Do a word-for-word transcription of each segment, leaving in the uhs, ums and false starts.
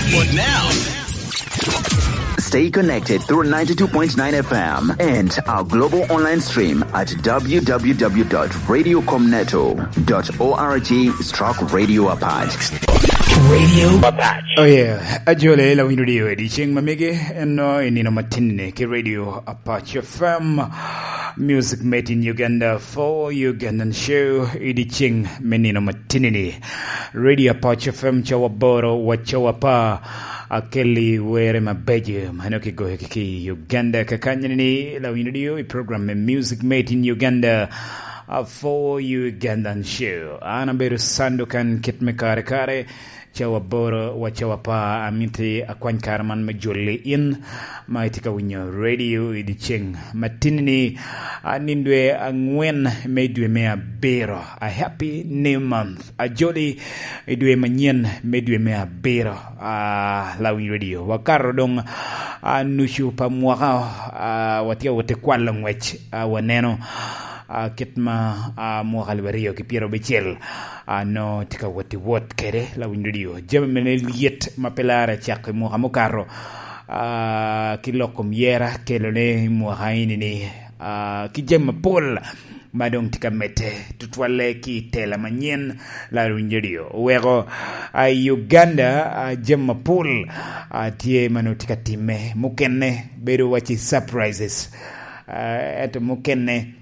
But now, stay connected through ninety-two point nine F M and our global online stream at w w w dot radio com neto dot org stroke radio apache. Radio Apache. Oh yeah, ajole la winyo dio edi ceng mamege eno i nino matinne ki Radio Apache F M. Music made in Uganda for Ugandan show i di ceng me nino matinini. Radio Apache F M cawa boro wa cawa pa. Akelli were mabeco ma nongo kigoyo ki i Uganda kakanyini, la winyo dio i program me Music Made in Uganda, a for Ugandan show. An abedo Sandukan kit me kare kare, cawa boro wa cawa pa, amiti akwany kare man me jolli in ma itye ka winyo radio i dyeceng matinini, a nindo dwe angwen me dwe me abiro. A happy new month. Ajoli i dwe manyen me dwe me abiro, a, Lawiny Radio. Wakato doŋ, a, nucu pa mwaka, a, watye awot i kwalo ngwec, a, waneno, a, kit ma, a, mwaka alip aryo ki pyerabicel, a, no tye ka wot i wot kede Lawiny Radio. Jami mene lyet ma pe larre cako i mwaka mukato, a, ki lok kom yera kelone i mwaka eni ni, a, ki jami mapol ma doŋ tye ka medde, tutwalle ki i tela manyen, Lawiny Radio oweko, a, i Uganda, a, jami mapol, a, tye ma nongo tye ka timme. Mukene bedo wacci surprises, a, ento mukene,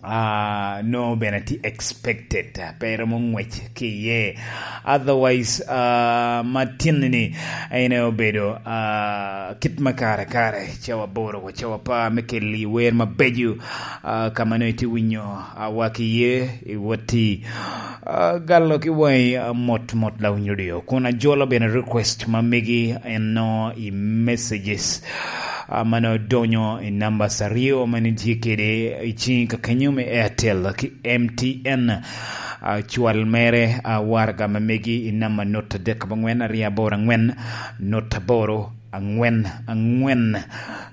a, nongo bene tye expected, a, pe romo ngwec ki iye. Otherwise, a, matinni en obedo, a, kit ma kare kare, cawa boro wa cawa pa me keli wer mabeco, a, ka ma nongo itye winyo, a, waki ye, iwoti, a, galo ki waŋi, a, mot mot Lawiny Radio. Kun ajolo bene request ma megi eno i messages, a, ma nongo donyo i numbers aryo ma nitye kede i ciŋi kakenyo me Airtel ki M T N. A, cwal mere, a, waraga ma megi i namba not adek abongwen aryo aboro angwen, not aboro angwen angwen.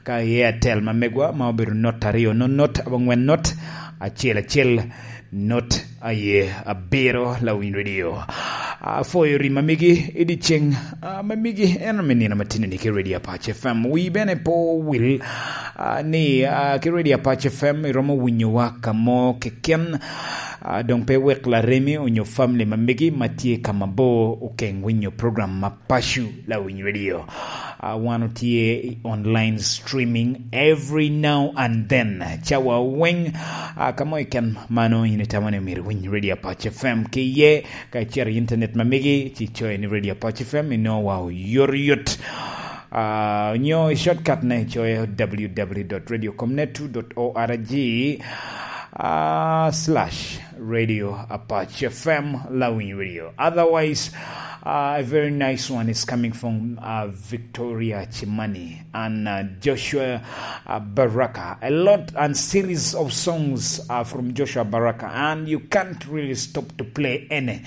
Ka i Airtel ma megwa ma obedo not aryo, not not abongwen not acel acel, not aye abiro Lawiny Radio. Afoyo ri ma megi i dyeceng, a, ma megi en me nino matinni ki Radio Apache F M. Wi bene pe owil, a, ni, a, ki Radio Apache F M iromo winyowa ka mo keken, a, doŋ pe wek laremi onyo family ma megi ma tye ka mabor okeŋ winyo program ma paco Lawiny Radio. A, wan otye i online streaming every now and then. Cawa weŋ, a, ka mo keken ma nongo in itamo ni myero iwiny Radio Apache F M ki iye, ka icito i internet ma megi, ci icoyo ni Radio Apache F M, inongo wa oyotoyot. A, onyo i shortcut ne icoyo w w w dot radio com net two dot org, a, slash Radio Apache F M, Lawiny Radio. Otherwise, uh, a very nice one is coming from, uh, Victoria Chimani and, uh, Joshua, uh, Baraka. A lot and series of songs are from Joshua Baraka, and you can't really stop to play any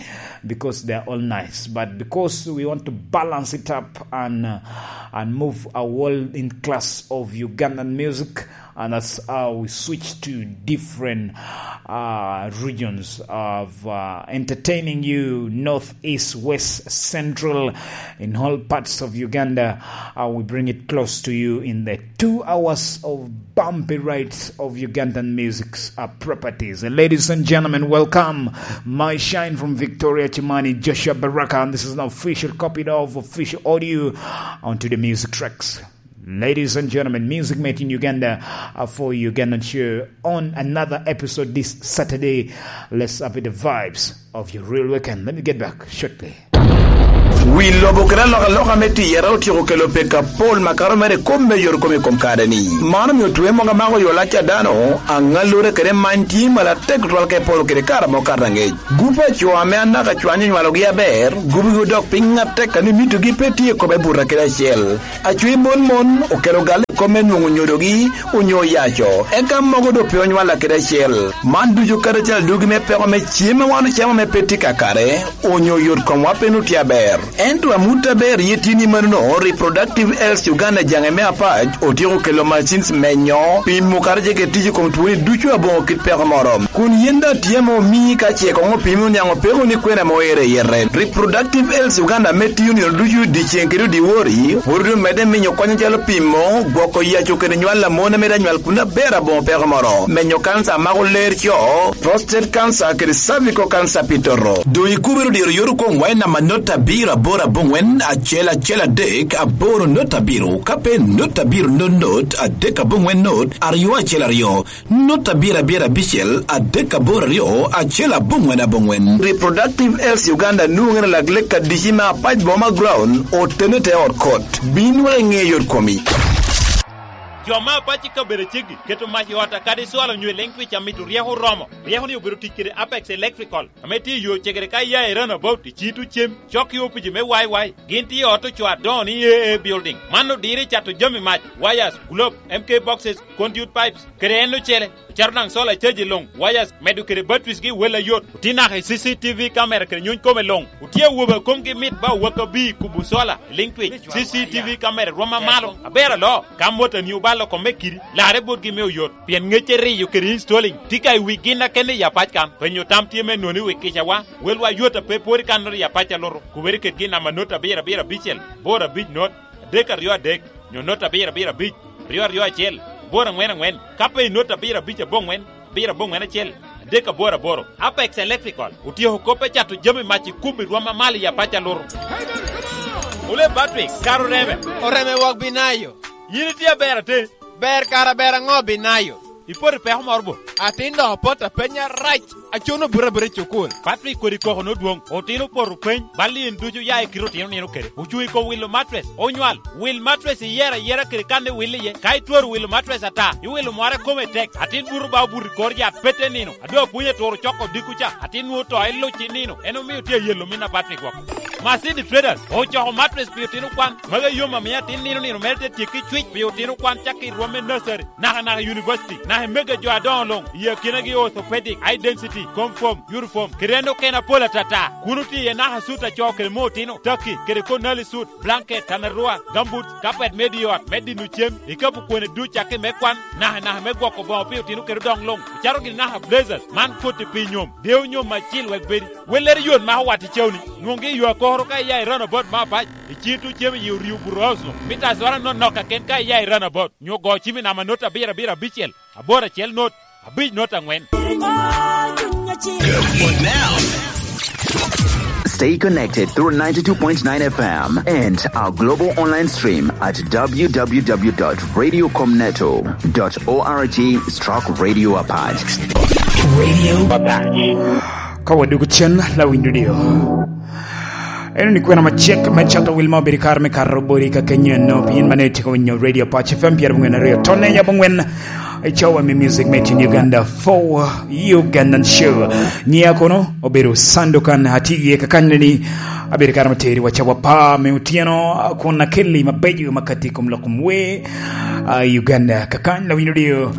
because they're all nice. But because we want to balance it up and, uh, and move a world in class of Ugandan music, and that's how we switch to different, uh, regions of, uh, entertaining you, north, east, west, central, in all parts of Uganda. Uh, we bring it close to you in the two hours of bumpy rides of Ugandan music's, uh, properties. Uh, ladies and gentlemen, welcome. My shine from Victoria Chimani, Joshua Baraka, and this is an official copy of official audio onto the music tracks. Ladies and gentlemen, music made in Uganda, uh, for Ugandan show on another episode this Saturday. Let's up the vibes of your real weekend. Let me get back shortly. Wi lobo kede alokaloka me tiyere otyeko kelo pek apol makato mere i kop me yot kom i kom kare-ni. Man omio twe mogo amako yo lac a dano, aŋallure kede many tye malatek tutwal ka i polo kede kare amo kato aŋec. Gup a co ame anaka cwany onywalogi aber, gubogi odok piny atek a ni mitogi pe tye i kome buta kede acel. Acwi mon mon okelo gal i kom me nwoŋo nyodogi onyo oyaco, eka mogo doŋ pe onywalla kede acel. Man ducu karacel adwogi me peko me cem a wan ocamo ame pe tye kakare, onyo yot komwa pe nutye aber. Ento amut aber ye tye ni manono, Reproductive Health Uganda jaŋe me apac otyeko kelo machines menyo pimo kara ce kede tic i kom twoni ducu aboŋo kit peko moro. Kun yen daŋ tye ame omii ka ce koŋ opimi oniaŋ opeko ni kwena ame oire i yete. Reproductive Health Uganda ame tiyo nino ducu dyeceŋ kede odiwori, pwod omedde miyo kony acalo pimo, gwoko yaco kede nywal a mon ame daŋ nywal kun aber aboŋo peko moro, menyo kanca a mako ler co, prostate cancer kede cervical cancer pi toto. Doŋ ikubere odiro yot okoŋ wa i namba not abiro aboro aboŋwen acel acel adek aboro not abiro, ka pe not abiro not not adek aboŋwen not aryo acel aryo, not abiro abiro abicel adek aboro aryo acel aboŋwen aboŋwen. Reproductive Health Uganda nwoŋere lak lek adici me apac boma ground otene te ot kot. Bin wek iŋe yot komi. Jo me apac i kabedo ceggi keto mac i ot a kadi cwalo nyo i leŋ twic a mito ryeko oromo. Ryeko-ni obedo tic kede Apex Electrical, ame tye i yo cegere ka iya i Runabout i Cito Cem, cok i opici me Y Y. Gin tye i ot ocoo adoŋo ni A A Building. Man odiro i cato jami mac, wires, globe, M K boxes, conduit pipes, kede en ocele. Ocato daŋ solar caji luŋ, wires, medo kede batteries gi wel ayot. Otye naka i C C T V camera kede nyuny kome luŋ. Otye awobe a komgi mit ba owak abir kubo solar i liŋ twic. C C T V camera rwom amalo, aber aloo. Ka motani obalo kome kidi, larre botgi me oyot. Pien ŋecce riyo kede installing tye ka i wi gin a kene i apac kan. Penyo tam tye me noni wi kicawa, welwa yot a pe pwod i kannoro i apac a luto. Kubere kede gin namba not abiro abiro abicel, boro abic not, adek aryo adek, nyo not abiro abiro abic, aryo aryo acel, boro aŋwen aŋwen, ka pe i not abiro abic aboŋwen, abiro aboŋwen acel, adek aboro aboro. Apex Electrical otyeko kop me cato jami mac i kubo i rwom amalo i apac a luto. Ole Patrick, kara oreme. Oreme wok binayo. Yin itye aber ate? Ber kara ber aŋo binayo? Ipoto i peko moro bo? Atin dok apoto apenya rac. Acuno buto abuta i cukul. Patrick kodi koko nodwoŋ. Otino opoto peny, bal i en ducu oya i kite otino nino kede. Ocuŋ i kom wilo matres. Onywal, wil matres iyero ayera kede kan iwil iye. Ka itwero wilo matres ata, iwilo mware kome tek. Atin buto ba obuto i kor yat, pe te nino. Adwa pwony aturo coko dikku ca, atin nwoŋo to iluc i nino. En omio tye ayelo min a Patrick woko. Masini Traders ocoko matres pi otino kwan. Magi yom amio atin nino nino mere te tyekki cwic pi otino kwan cakki i rwom me nursery, naka naka i university, naka i mega jo adoŋo luŋ, i akinagi orthopedic, high density, confirm, uniform, kede en okene apol atata. Kun otye iye naka sut a co kede mo otino, taki, kede konali sut, blanket, tanarua, gumboots, kapet me di ot, me dino cem, ikapu kwene duc cakki me kwan, naka naka me gwoko boŋo pi otino kede odoŋ luŋ. Ocato gini naka blazers, man koti pi nyom, dewo nyom acil wek bedi. Wellere yot mako wat i cawni. Nwoŋgi i yo akoro ka iya i Runabout me apac, i cito cem i orio buto house-nu. Mita acwara nonok kaken ka iya i Runabout, nyo go cim i namba not abiro abiro abicel, aboro acel not, abic not aŋwen. Stay connected through ninety-two point nine F M and our global online stream at w w w dot radio com neto dot org stroke radio apac. Radio Apac. Ka wadwogo cen, lawiny dudio. Eno ni kwena macek me cato wil ma obedo i kare me kato bodi ka kenyo eno, pien mano itye ka winyo Radio Apac F M pyerabongwen aryo tonne yabo ngwen. I cawa me music made in Uganda for Ugandan show. Nyiya kono obedo Sandukan, atye iye kakany ni abedo kare materi wa cawa pa me otyeno, kun akelli mabeco makati i kom lok kom wer, ah, i Uganda. Kakany lawiny dudio.